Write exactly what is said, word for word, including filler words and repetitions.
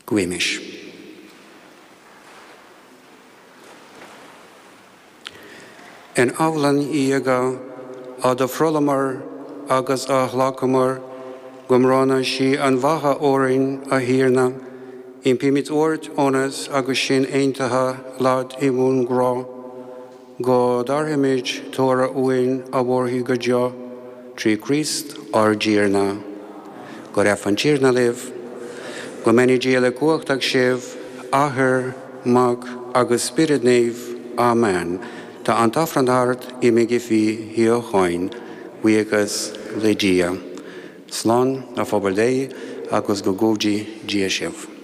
Guímis. In abhlann íoga a do phrolamar agus a ghlacamar go mbronna sí an bheatha orainn a Thiarna, impímid ort ionas agus sinn aontaithe leat i mbun-ghrá, go dtabharfaimid toradh uainn a mhairfidh go deo, trí Chríost ár dTiarna. Go raibh an Tiarna libh, go mbeannaí Dia uilechumhachtach sibh, Athair, Mac agus Spiorad Naomh. Amen. Tá an t-aifreann thart, imígí faoi shíocháin, buíochas le Dia. Slán, a phobal Dé, agus go gcumhdaí Dia sibh.